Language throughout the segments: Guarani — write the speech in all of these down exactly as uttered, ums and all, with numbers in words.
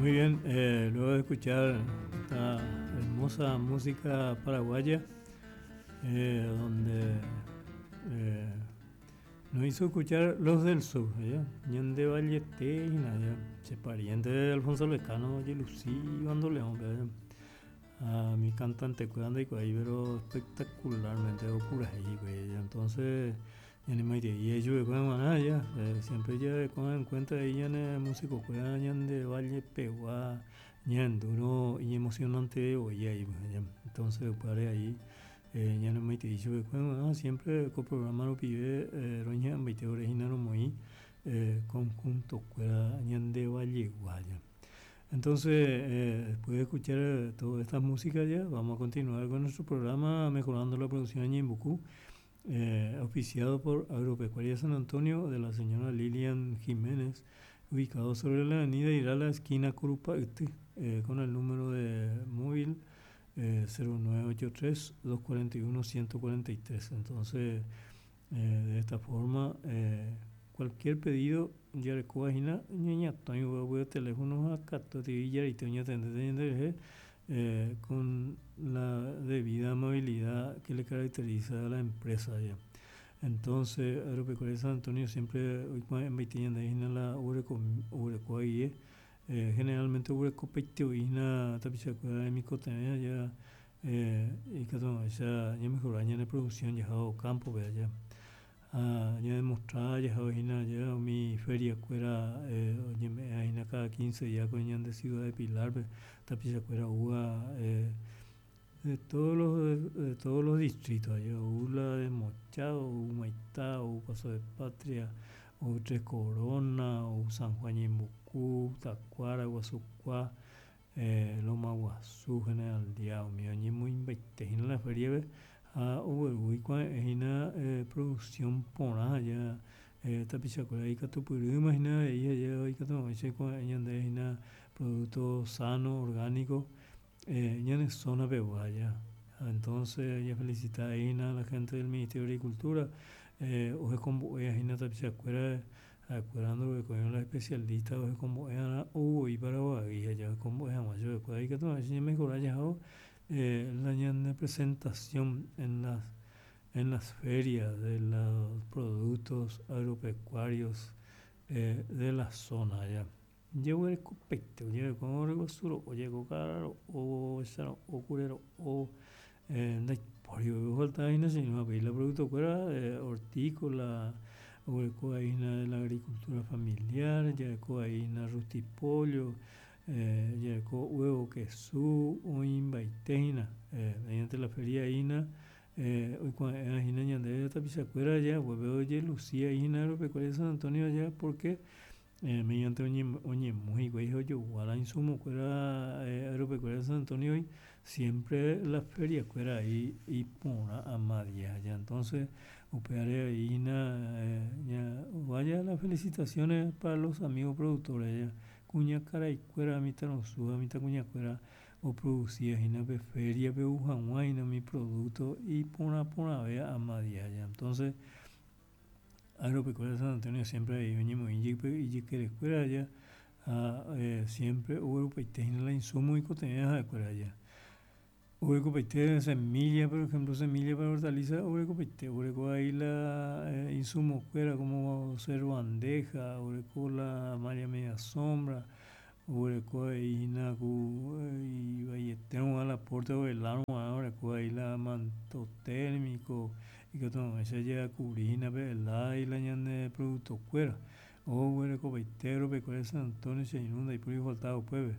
Muy bien, eh, luego de escuchar esta hermosa música paraguaya, eh, donde eh, nos hizo escuchar Los del Sur, ¿ya? Ñande Vallete, ¿ya? Che pariente de Alfonso Lecano, Yelucí, Bandoleón, ¿ya? A mi cantante cuidando y pero espectacularmente ahí, ¿ya? Entonces, ya ni me y ellos ya, eh, siempre ya con en cuenta ella en músico cuidan de Valle Pegua, duro y emocionante hoy ahí, ya. Entonces, para ahí, eh, ya no me dicho siempre con programa lo pide eh, roña veinte original muy eh, conjunto cuida de Valle Guaya. Entonces, eh, después de escuchar toda esta música ya, vamos a continuar con nuestro programa Mejorando la Producción en Ñeembucú, eh, auspiciado por Agropecuaria San Antonio de la señora Lilian Jiménez, ubicado sobre la avenida Irala, esquina Curupa, eh, con el número de móvil eh, cero nueve ocho tres, dos cuarenta y uno, ciento cuarenta y tres. Entonces, eh, de esta forma, eh, cualquier pedido, ya le coja, ñaña, toño, voy a teléfono acá, to, te, ya, y te, ña, te, te, te, te, te, eh, con la debida amabilidad que le caracteriza a la empresa ya. Entonces, Agropecuaria San Antonio siempre, hoy cuando en Baitín, de ahí en la Ureco, Ureco ahí, eh, generalmente Ureco Peiteo, y en la Tapichacuera de Micotemea, ya, eh, y que todo, ya, ya mejoró, ya en producción, ya hago campo, vea, ya. Ah, ya demostraba, ya hago, ya, ya mi feria cuera, eh, oye, me, ahí en cada quince días con ya de Ciudad de Pilar, pe, Tapichacuera, Uga, eh, de todos los, de, de todos los distritos, allá, Ula de Mochao, Humaitá, U Paso de Patria, U Tres Coronas, U San Juan Ñeembucú, Tacuara, Guasucuá, eh, Loma Guazú, General Díaz, mío, ñi muy invete, en la feria, ve, a U, U, cua, en la, eh, producción porá, ya, eh, Tapichacuera, y Catupurú, imagina, y allá, y Catupurú, y cua, y ande, en la producto sano, orgánico, eh, ya en zona peguaya. Entonces, ya felicita ahí a la gente del Ministerio de Agricultura, eh, oje con boya, ahí en Tapichacuera, acuerdo que con los especialistas, oje con boya, hubo y para Guaguía, ya con boya, más yo después ahí que todo, así mejor ya, eh, la ñan de presentación en las, en las ferias de los productos agropecuarios, eh, de la zona ya. Llevo el copete, llevo con orgo suro, o llego caro, o saro, o curero, o, eh, de por yo falta ahí no sé, no, la producto fuera, eh, hortícola, o el coaína de la agricultura familiar, ya el coaína rustipollo, eh, ya el co huevo queso, o invaiteina, eh, mediante la feria ina, eh, hoy cuando era ina ñande tapichacuera ya, huevo de Lucía ina agropecuaria San Antonio ya, porque, eh, mediante oñe, oñe músico, hijo yo, guara insumo, fuera, eh, agropecuaria San Antonio, y siempre la feria fuera ahí y pona a María ya. Entonces, upeare ina, eh, ya, vaya las felicitaciones para los amigos productores ya. Cuña cara y cuera, mitad no suba, mitad cuña cuera, o producía ina pe feria, pe ujaguá, ina mi producto, y pona, pona, vea a María ya. Entonces, Agropecuaria San Antonio siempre ahí venimos y y y que escuela ya, ah, eh, siempre hubo paitena la insumo y cotenía de escuela ya. Hubo paitena semilla, por ejemplo, semilla para hortaliza, hubo paitena, hubo ahí la, eh, insumo escuela como ser bandeja, hubo la malla media sombra, hubo ahí na cu, eh, y valletero a la puerta del arma, ahora ahí la manto térmico y que todo eso ya cubrina, la y la ñande producto cuera. O huele copeitero, pecuaria San Antonio se inunda y por ahí faltado puebe.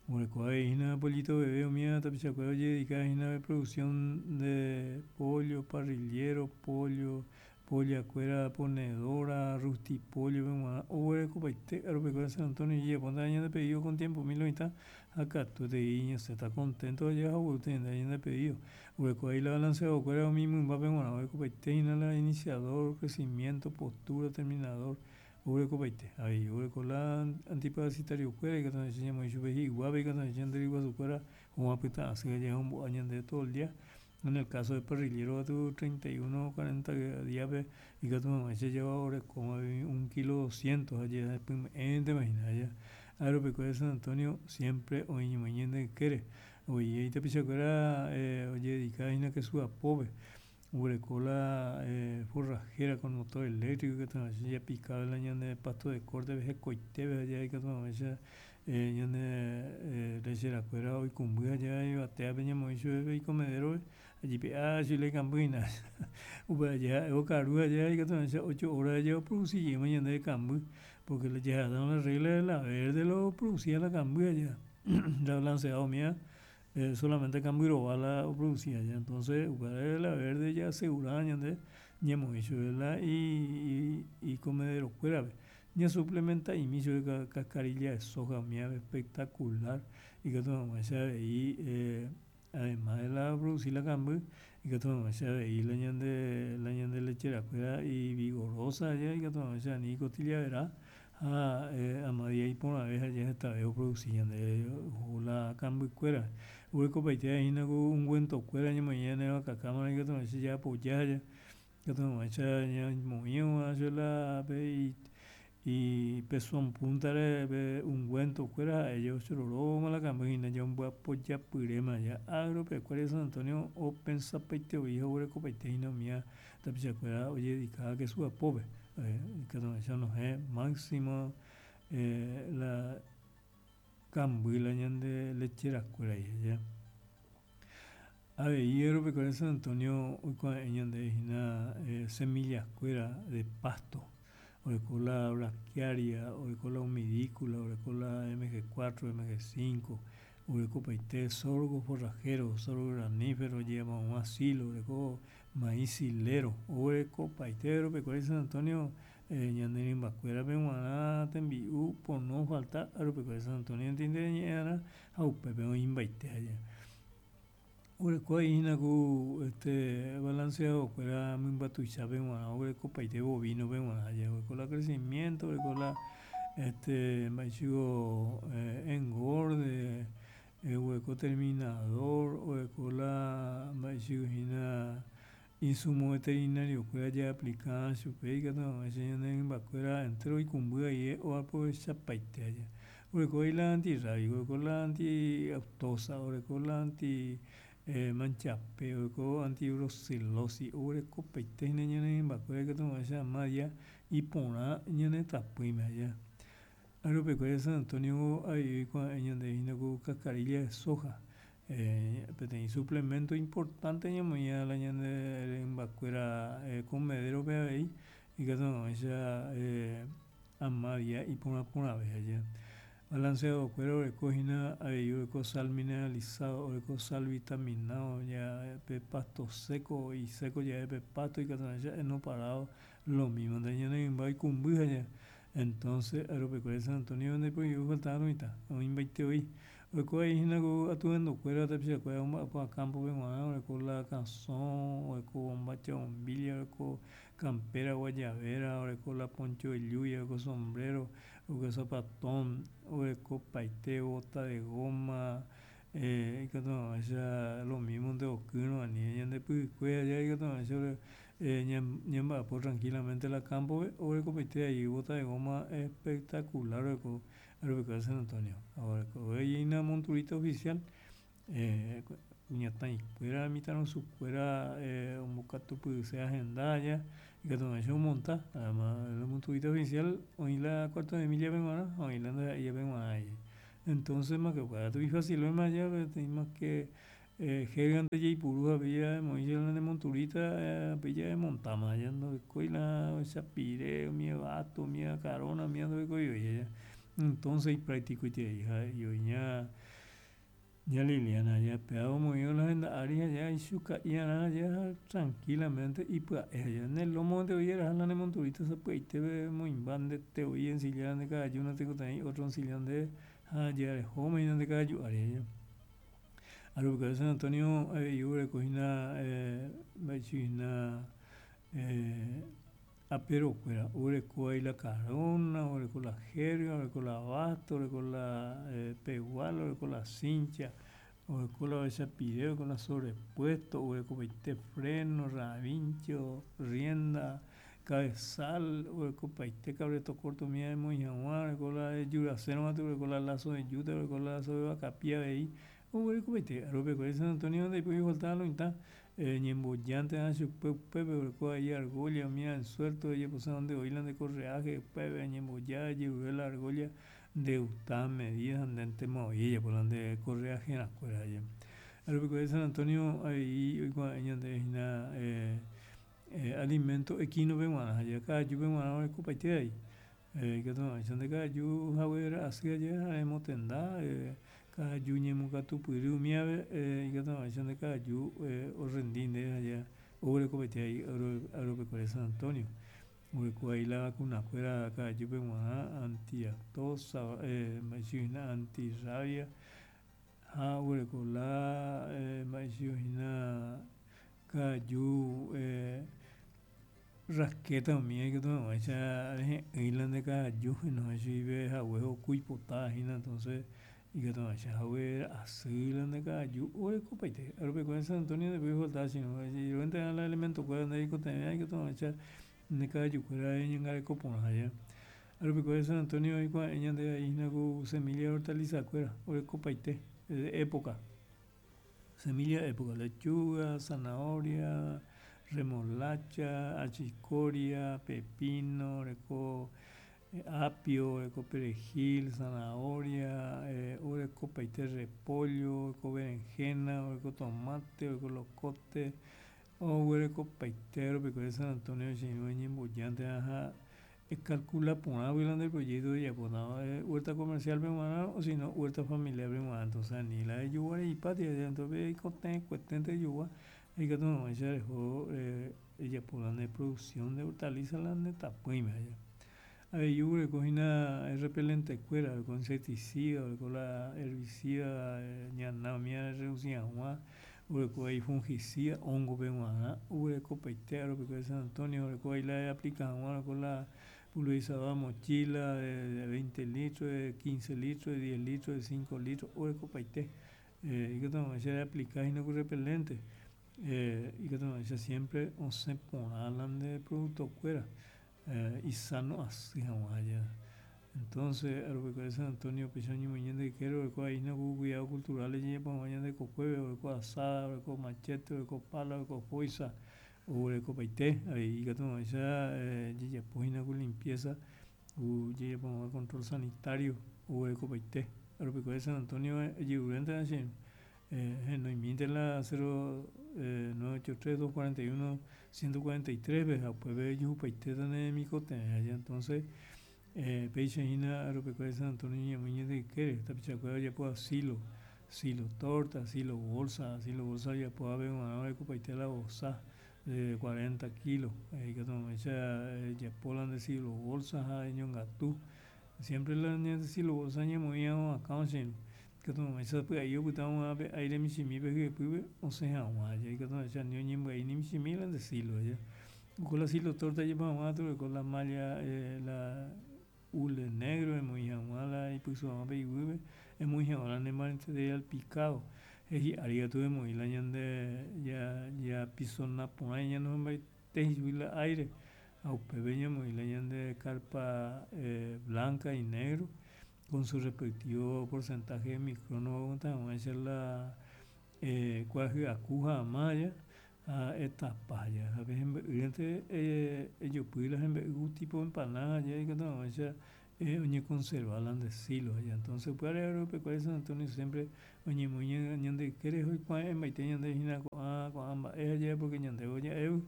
Huele coaína, pollito bebé, o mía, tapichacuera, oye, dedicada a la producción de pollo, parrillero, pollo, polla cuera, ponedora, rustipollo, o huele copeite, agropecuaria San Antonio, y ya ponte año de pedido con tiempo, mil noventa, acá tú te guiñas, se está contento, ya, o te año de pedido. Huele coaí la balanza, o cuera, o mismo, un papel, bueno, huele copeite, y la iniciador, crecimiento, postura, terminador, huele copeite, ahí, huele con la antiparasitario cuera, y que te enseñamos, y yo veía igual, y que te enseñan de igual su cuera, como apita, así que llega un año de todo el día. En el caso de parrillero, a tu treinta y uno, cuarenta días, pe, y que tu mamá se lleva ahora como un kilo doscientos, allá, después, te imaginas, allá. Agropecuaria San Antonio siempre oĩñomoĩ ñande ykére oĩ tapichakuéra ojededicahína kesu apópe oguereko la forrajera con motor eléctrico ikatuhag̃uáicha japika la ñande pasto de corte hekoitépe ha ikatuhag̃uáicha ñane lecherakuéra oikũmby ha yvatévape ñamoĩ chupe icomederope jepe'a chugui la ikambyhína upe aja ha'e okaru aja ikatuhag̃uáicha ocho horas oproducijeýma ñandéve kamby porque la jahasa la regla la verde la oproducía la kamby aja la balanceado umíva solamente kamby rova la oproducía entonces upévare la verde ja'asegura ñande ñamoĩ chupe la icomederokuérape ñasuplementa'imi chupe cascarilla de soja umíva espectacular ikatuhag̃uáicha avei además de la oproduci la kamby ikatuhag̃uáicha avei la ñande la ñande lecherakuéra ivigorosa ikatuhag̃uáicha ani icostilla vera ha ama día iporãve ha hetave oproduci ñandéve la kambykuéra oguerekopaitehína ku ungüentokuéra ñamoĩ ñane vakakámare ikatuhag̃uáicha jaapoya ikatuhag̃uáicha ñamoĩ chupe la pe ipezón puntare pe ungüentokuéra ha'e ochororóma la kamby hína ombyapojápyréma Agropecuaria San Antonio opensapaitevoi ha oguerekopaitehína umíva tapichakuéra ojededicáva kesu apópe ikatuhag̃uáicha onohẽ máximo la kamby la ñande lecherakuéragui avei Agropecuaria San Antonio oikuave'ẽ ñandéve hína semillakuéra de pasto oreko la braquiaria, oreko la humidícula, oreko la M G cuatro, M G cinco, oguerekopaite sorgo forrajero, sorgo granífero ojejapo hag̃ua silo, oreko maíz silero, oguerekopaite Agropecuaria San Antonio ñane rymbakuérape g̃uarã tembi'u pono ofalta Agropecuaria San Antonio ñe'ẽ'arã ha upépe oĩmbaite oguereko hína ku este balanceadokuéra mymba tuichápe g̃uarã oguerekopaite bovinope g̃uarã oguereko la crecimiento, oguereko la este mba'éichiko engorde, oguereko terminador, oguereko la mba'éichiko insumo veterinariokuéra jaaplica chupe ikatuhag̃uáicha ñane rymbakuéra entero oikũmby guive oaprovechapaite oguereko la antirrábico, oguereko la antiaftosa, oguereko la anti manchape, oguereko antibrucelosis, oguerekopaite ñane rymbakuéra ikatuhag̃uáicha ama día iporã ñane tapỹime. Agropecuaria San Antonio avei oikuave'ẽ ñandéve ku cascarilla de soja peteĩ suplemento importante ñamoĩva la ñane rymbakuéra comederope avei ikatuhag̃uáicha ama día iporã porãve. Balanceadokuéra oguerekohína avei oguereko sal mineralizado, oguereko sal vitaminado pe pasto seco iseco jave pe pasto ikatuhag̃uáicha heno parado lo mismo ñane rymba oikũmby entonces Agropecuaria San Antonio ndaiporive mitã oĩmbaitevoi oiko hína ku atuendokuéra tapichakuéra omba'apóva campope g̃uarã oguereko la kasõ, oguereko bombacha bombilla, oguereko campera guayabera, oguereko la poncho de lluvia, oguereko sombrero, oguereko zapatón, oguerekopaite bota de goma ikatuhag̃uáicha lo mismo nde okýrõ ani ñandepy'ykue aja ikatuhag̃uáicha ñamba'apo tranquilamente la campope oguerekopaite ahí bota de goma espectacular oguereko Agropecuaria San Antonio oguerekohína monturita oficial kuñataĩkuéra mitãrusukuéra ombokatupyryséva henda aja ikatuhag̃uáicha omonta además la monturita oficial oĩ la cuarto de millape g̃uarã ha oĩ la ndaha'éivape g̃uarã entonces mas que upéva ifacilvéma mas que jergante jaipuru ha emoĩ la ne monturita upéi emontama ndorekói la ochapire umi bato umi karona umíva ndorekoivoi entonces ipracticoiterei ha he'i ña ña Liliana péva omoĩvo la henda ári ha ichuka'iarã ha tranquilamente ipya'e ne lomonte voi eraha la ne monturita sapy'aitépe emoĩmba ndetevoi ensilla nde kavaju natekotevẽi otro onsilla ndéve ha ja rehóma nde kavaju ári. Agropecuaria San Antonio avei oguerekohína mba'eichahína aperokuéra oguereko la carona, oguereko la jerga, oguereko la basto, oguereko la peguala, oguereko la cincha, oguereko la ovechapire, oguereko la sobrepuesto, oguerekopaite freno, ravincho, rienda. Cabezal, orekopaite cabresto corto umíva emoĩ hag̃ua, oreko la ejurasérõ oreko la lazo de yute, oreko la lazo de vakapi avei, oguerekopaite aropekuare San Antonio ndaipóri ofaltaba lo mitã ñembojánte chupe upépe oreko avei argolla umíva en suelto ojeposévantevoi la nde correaje upépe eñemboja ejerure la argolla ndegustaba medida ha ndéntemavoi ejapo la nde correajerãkuéra. Aropekuare San Antonio avei oikuave'ẽ ñandéve hína alimento equino-pe g̃uarã ha kavajúpe g̃uarã orekopaite avei ikatuhag̃uáicha nde kavaju haguera'asy aje ha emotenda kavaju ñembokatupyry umívape ikatuhag̃uáicha nde kavaju orrendi ndéve ha ja oguerekopaite avei Agropecuaria San Antonio oreko avei la vacunakuéra kavajúpe g̃uarã antiaftosa mba'eichahína antirrabia ha oguereko la mba'eichahína kavaju rasqueta umíva ikatuhag̃uáicha rehe'ỹi la nde kavaju enohẽ chugui pe hague okuipotavahína entonces ikatuhag̃uáicha haguera'asy la nde kavaju orekopaite Agropecuaria San Antonio ndaipóri ofaltaba che irũ ejeruréntena la elemento-kuéra nde reikotevẽva ikatuhag̃uáicha nde kavajukuéra reñangareko porã aja. Agropecuaria San Antonio oikuave'ẽ ñandéve avei hína ku semilla hortaliza-kuéra orekopaite de época, semilla de época lechuga, zanahoria, remolacha, achicoria, pepino, oreko apio, oreko perejil, zanahoria, orekopaite repollo, oreko berenjena, oreko tomate, oreko locote, oguerekopaite Agropecuaria San Antonio che irũ eñembojántena ha ecalcula porãgui la nde proyecto ejapótava huerta comercial-pe g̃uarã o sino huerta familiar-pe g̃uarã entonces ani la ejoguareipátei eikotevẽkueténte ejogua ikatuhag̃uáicha reho ejapo la nde producción de hortaliza la ne tapỹime. Avei oguerekohína repelente-kuéra oreko insecticida, oreko la herbicida ñana umíva reduci hag̃ua, oreko avei fungicida hongo-pe g̃uarã oguerekopaite Agropecuaria San Antonio oreko avei la eaplica hag̃ua oreko la pulverizadora mochila de veinte litros, de quince litros, de diez litros, de cinco litros orekopaite ikatuhag̃uáicha reaplica hína ku repelente ikatuhag̃uáicha siempre osẽ porã la nde producto-kuéra isano asy hag̃ua aja. Entonces Agropecuaria San Antonio péicha oñemoĩ ñande ykére oreko avei hína ku cuidado cultural ojejapo hag̃ua ñande kokuépe oreko azada, oreko machete, oreko pala, oreko foiza, oguerekopaite avei ikatuhag̃uáicha jajapohína ku limpieza ku jajapo hag̃ua control sanitario oguerekopaite Agropecuaria San Antonio ejeruréntena che irũ henoimínte la cero nueve ocho tres dos cuarenta y uno ciento cuarenta y tres-pe ha upépe ejuhupaitéta ne remikotevẽ aja entonces péicha hína Agropecuaria San Antonio ñamoĩ ñande ykére tapichakuéra ojapo silo, silo torta, silo bolsa, silo bolsa ojapóvape g̃uarã orekopaite la vosa de cuarenta kilos ikatuhag̃uáicha ejapo la nde silo bolsa ha eñongatu siempre la ñande silo bolsa ñamoĩva akãvo che irũ ikatuhag̃uáicha sapy'ai opyta pe aire michĩmi pe hyepýpe osẽ hag̃ua aja ikatuhag̃uáicha ani oñembyai ni michĩmi la nde silo aja upe la silo torta ejapo hag̃ua oreko la malla la hule negro emoĩ hag̃ua la ipysu hag̃ua pe iguýpe emoĩ hag̃ua la ne material picado hi'ári katu emoĩ la ñande japisona porã ñanohẽmbaite chugui la aire ha upépe ñamoĩ la ñande carpa blanca y negro con su respectivo porcentaje de microno hag̃uáicha la kuarahy aku ha ama aja ha etapa aja ha pe hembe'ýrente ejopy la hembe'y tipo empanada aja ikatuhag̃uáicha oñeconserva la nde silo aja entonces upévare Agropecuaria San Antonio siempre oñemoĩ ñande ykére oikuave'ẽmbaite ñandéve hína ko'ã ko'ã mba'e aja porque ñandéve ja'égui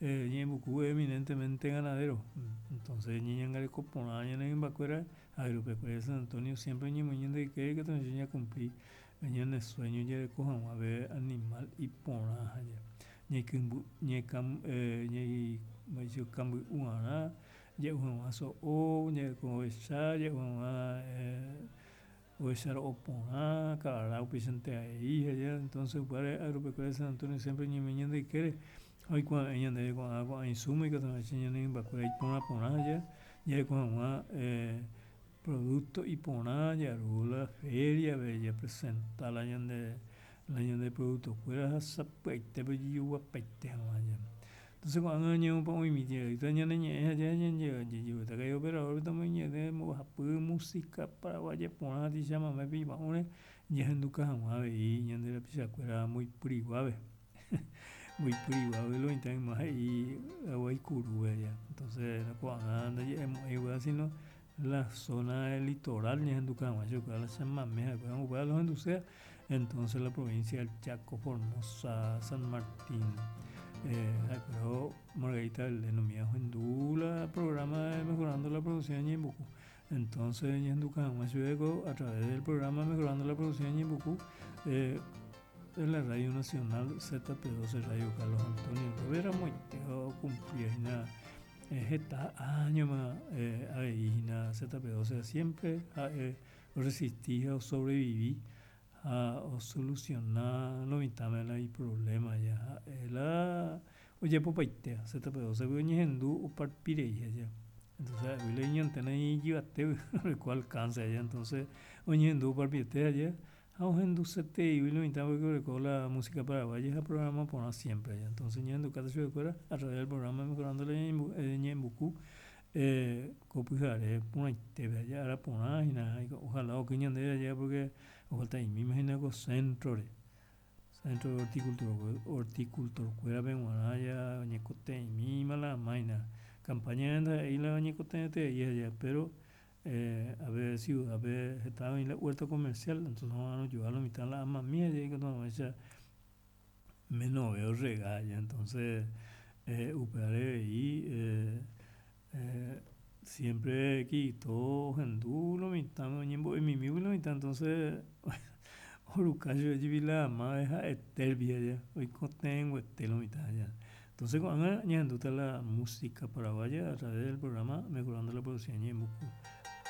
ñe'ẽmbuku eminentemente ganadero entonces ñañangareko porã ñane rymbakuéra Agropecuaria San Antonio siempre oñemoĩ ñande ykére ikatuhag̃uáicha ñacumpli ñane sueño jareko hag̃ua pe animal iporã aja ñaikũmby ñaikamby'uarã ja'u hag̃ua so'o jareko ovecha ja'u hag̃ua ovecha ro'o porã kavara upéichante avei aja entonces upévare Agropecuaria San Antonio siempre oñemoĩ ñande ykére ha oikuave'ẽ ñandéve ko'ã ko'ã insumo ikatuhag̃uáicha ñane rymbakuéra iporã porã aja jareko hag̃ua producto iporã jaru la feria-pe japresenta la ñande la ñande producto-kuéra ha sapy'aitépe ojejoguapaite hag̃ua aja. Entonces Entonces ko'ág̃a oñemoĩmi ñane ñe'ẽ ha operador mbohapy música paraguaya porã chamame pa'ũre jahenduka hag̃ua avei ñande rapichakuéra mboipyriguápe mboipyriguápe lo mitã yma he'i Guaykurúpe entonces ko'ág̃a ndaje'emo'ãi upéva sino la zona del litoral ñahenduka hag̃ua chupekuéra la chamame ha'ekuéra upéva la ohenduséva entonces la provincia del Chaco, Formosa, San Martín ha'ekuéra Margarita Belén umi ohendu la programa de Mejorando la Producción Ñeembucú entonces ñahenduka hag̃ua chupe ko a través del programa Mejorando la Producción Ñeembucú en la Radio Nacional Z P doce Radio Carlos Antonio Rovira ramoite ocumplía heta añoma avei hína Z P doce siempre ha'e oresistí ha sobreviví ha osoluciona lo mitãme la iproblema ja ha'e la ojapopaitéva Z P doce oñehendu oparpirei aja entonces ha'égui la iñantena ijyvatégui oreko alcance aja entonces oñehendu oparpiete aja ha ohenduseteigui lo mitã porque oreko la música paraguaya ha programa porã siempre aja entonces ñahendukáta chupekuéra a través del programa Mejorando la Ñeembucú ko pyhare porãitépe aja ára porã hína ojalá oky ñandéve aja porque ofalta'imíma hína ko centro-re centro de horticultura horticultor-kuérape g̃uarã ja oñekotevẽmíma la amáina campaña ndaha'éi la oñekotevẽterei aja pero a ver ciudad-pe heta oĩ la huerto comercial entonces oha'arõjoa lo mitã la amami aja ikatu hag̃uáicha menove orrega aja entonces upévare avei siempre Kirito ohendu lo mitãme oñembo'emimígui lo mitã entonces oruka chupe jepi la ama ha'etérupi aja oikotevẽnguete lo mitã aja entonces ko'ág̃a ñahendúta la música paraguaya a través del programa Mejorando la Producción Ñeembucú.